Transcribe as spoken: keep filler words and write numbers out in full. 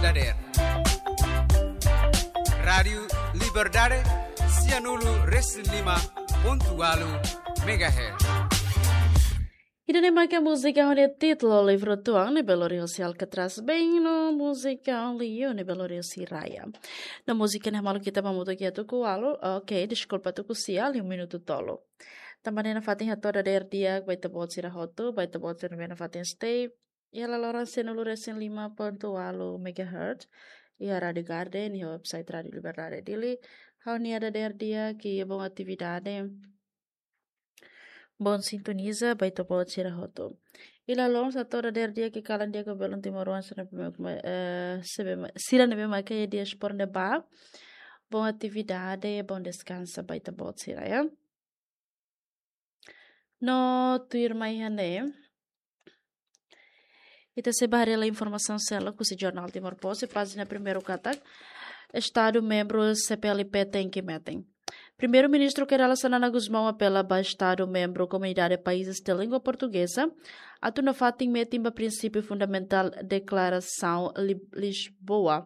Dader. Rádiu Liberdade, sianulu resin lima pontu ualu megahertz. Ida-ne'e maka múzika ho nia títulu Livru Tuan, ne'ebé lori husi Alcatraz Band, no múzika Only You, ne'ebé lori husi Raya. No múzika ne'e malu kita mamutuk iha tuku ualu, oke, deskulpa, tuku sia, liu minutu tolu. Tanba ne'e nafatin hato'o dader di'ak ba ita-boot sira hotu, ba ita-boot sira ne'ebé nafatin stay iha laloran sianulu resin lima pontu ualu megahertz, iha Rádiu Garden, iha website Rádiu Liberdade Dili. Ha'u-nia dader di'ak, bom atividade, bom sintoniza ba ita-boot sira hotu. I lalais hato'o dader di'ak kalan di'ak ba belun timoroan sira ne'ebé, eh, sira ne'ebé maka iha diáspora ne'ebá. Bom atividade, bom deskansa ba ita-boot sira, ya. No tuirmai iha ne'e, ita sei bá haree informasaun seluk husi Jornál Timor Post, pájina primeiru katak, Estadu membru C P L P tenke metin. Primeiru-Ministru Kay Rala Xanana Gusmão apela ba Estadu membru Komunidade Países de Língua Portuguesa atu nafatin metin ba prinsípiu fundamentál Deklarasaun Li-, Lisboa,